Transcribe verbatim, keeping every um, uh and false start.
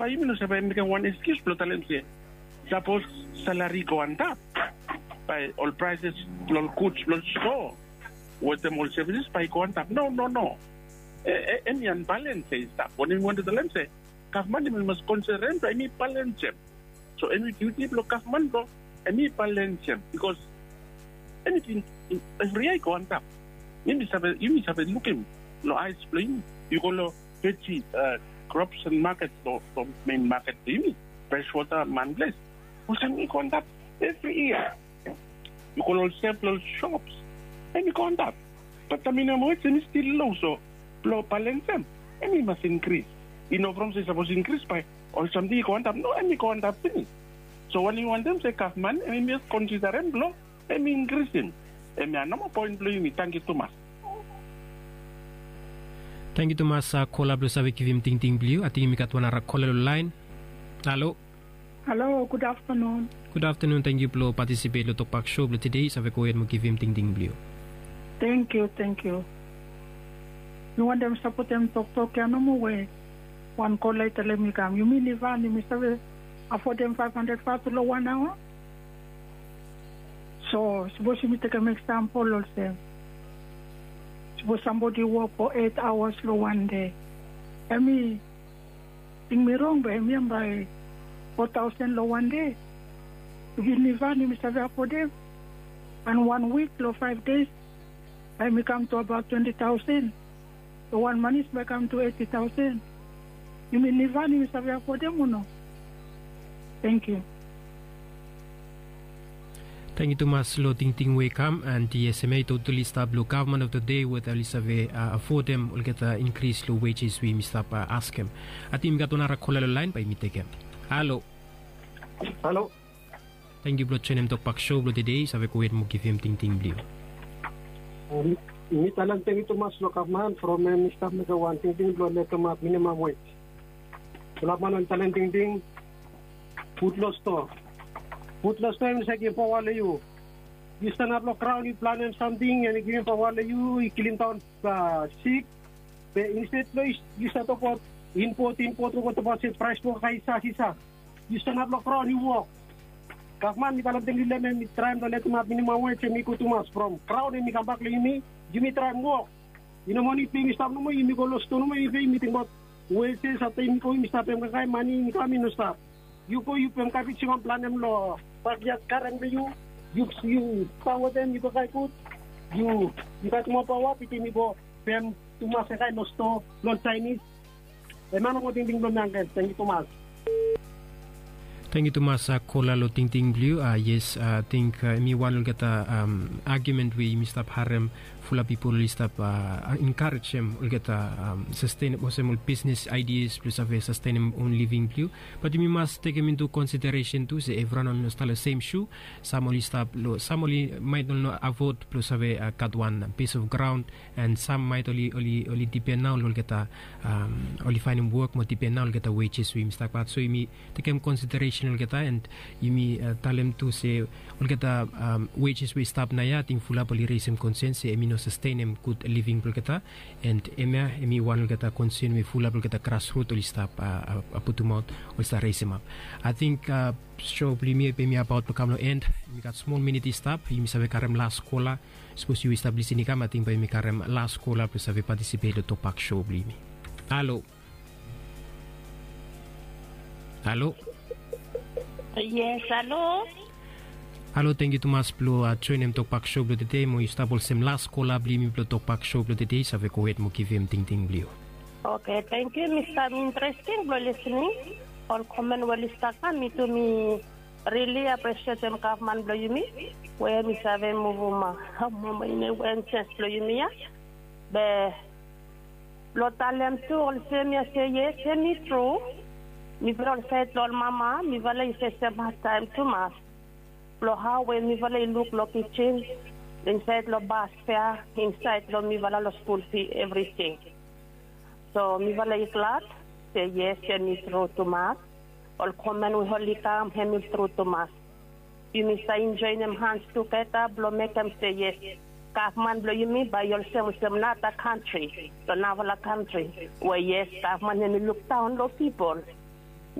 Bae yumi no save mekem wan eskius blong talem se sapos salari i go antap, bae ol praeses blong ol guds blong ol stoa wetem ol sevises bae i go antap. No, no, no. Hemi anbalens ya i stap. Wanem mi wantem talem se gavman hemi mas konsiderem blong hemi balensem. So hemi diuti blong gavman blong hemi balensem, bikos eniting evri yia i go antap. Yumi save, yumi save lukim long aes blong yumi. Yu go long veji, krops and maket long, long mein maket blong yumi, freswota, manples, olsem i go antap evri yia. Yu go long ol sef long ol sops, hemi go antap. Bat minimam wej hemi stil lo, so blong balensem hemi mas inkris. I no from se sapos inkris bae ol samting i go antap. No, hemi go antap finis. So wanem mi wantem se gavman hemi mas konsiderem blong hemi inkrisim. Hemia nomo poen blong yumi. Tangkiu tumas. Tangkiu tumas kola blong save givim tingting blong yu. Ating yumi gat wan nara kola long laen. Halo. Halo, gud aftanun. Gud aftanun. Tangkiu blong patisipet long tokbak sho blong tede. Yu save gohed mo givim tingting blong yu. Tangkiu, tangkiu. Mi wantem sapotem toktok ya nomo we wan kola i talem i kam. Yumi Nivan yumi save afodem faef handred vatu long wan aoa. So sapos yumi tekem eksampol olsem, sapos sambodi i wok fo eit aoas long wan dei, hemi ting mi rong be hemia bae fo taosen long wan dei. Yumi Nivan yumi save afodem? An wan wik long faef dei bae hemi kam tu abaot twenti taosen. So wan manis bae kam tu eiti taosen. Yumi Nivan yumi save afodem o no? Tangkiu. Tangkiu tumas long tingting we i kam. An yes, hemia i totali stap long gavman of the dei weta oli save afodem olgeta inkris long wejes we yumi stap askem. Ating yumi gat wan nara kola long laen, bae yumi tekem. Halo. Halo. Tangkiu blong joenem tokbak sho blong tede. Yu save gohed mo givim tingting blong yu. Mi talem tangkiu tumas long gavman from hemi stap mekem wan tingting blong letemap minimam wej. Fulap man oli talem tingting, put long stoa. Put long stoa hemi save givim paoa long yu. Yu stanap long graon yu planem samting an i givim paoa long yu, i kilimdaon sik. Be insted blong yu save tokbaot impot, impot, yu go tokbaot se praes blong olgeta i sasisa. Yu stanap long graon yu wok. Gavman mi talem tangkiu long hem, hemi traem blong letemap minimam wej, hemi gud tumas from graon hemi kambak long yumi. Yumi traem wok. I no mani pe yumi stap nomo, yumi go long stoa nomo, yumi pe yumi tingbaot wejes afta yumi go yumi stap pem kaikai, mane i kam i no stap. Yu go yu pem kabej yu kam planem long bakyad garen blong yu. Yu, yu stap wetem yu kaikai gud. Yu, yu gat moa paoa bitim yu go pem tumas kaikai long stoa long Jaenis. Hemia nomo tingting blong mi angken. Tangkiu tumas. Tangkiu tumas kola long tingting blong yu. Yes, ating hemi wan long olgeta agiumen we yumi stap harem, fulap pipol oli stap enkarejem olgeta sastenem olsem ol bisnes aidias blong save sastenem on living blong yu. Bat yumi mas tekem intu konsideresen tu se evriwan oli no stap long sem shu. Sam oli stap long, sam oli maet oli no afod blong save gat wan pis of graon. An sam maet oli, oli, oli dipen nao long olgeta, oli faenem wok mo dipen nao long olgeta wejes we yumi stap gat. So yumi tekem konsideresen olgeta an yumi talem tu se olgeta wejes we i stap naoia, ating fulap oli resem konsen se hemi no sastenem gud living blong olgeta. An hemia hemi wan olgeta konsen we fulap olgeta grasrut oli stap putumaot, oli stap resemap. Ating sho blong yumi hemi abaot blong kam long en. Yumi gat smol minit i stap, yumi save karem las kola. Sapos yu i stap lisin i kam, ating bae yumi karem las kola blong save patisipet long tokbak sho blong yumi. Halo. Halo. Yes, halo. Halo, tangkiu tumas blong joenem tokbak sho blong tede, mo yu stap olsem las kola blong yumi blong tokbak sho blong tede. Yu save gohed mo givim tingting blong yu. Oke, tangkiu. Mi stap interesting blong lisening ol komen we oli stap kam. Mi tu mi rili apresietem gavman blong yumi we hemi save muvum mama ine wen sens blong yumi ya. Be blong talem tu olsem ya se yes, hemi tru. Mifala ol saed long ol mama mifala i fesem hadtaem tumas blong hao we mifala i luk long kijin, insaed long bas fea, insaed long mifala long skul fi, evriting. So mifala i glad se yes, hemi tru tumas. Ol komen we oli kam hemi tru tumas. Yumi save joenem hans tugeta blong mekem se yes, gavman blong yumi bae i olsem olsem nara kantri, long narafala kantri we yes, gavman hemi lukdaon long pipol.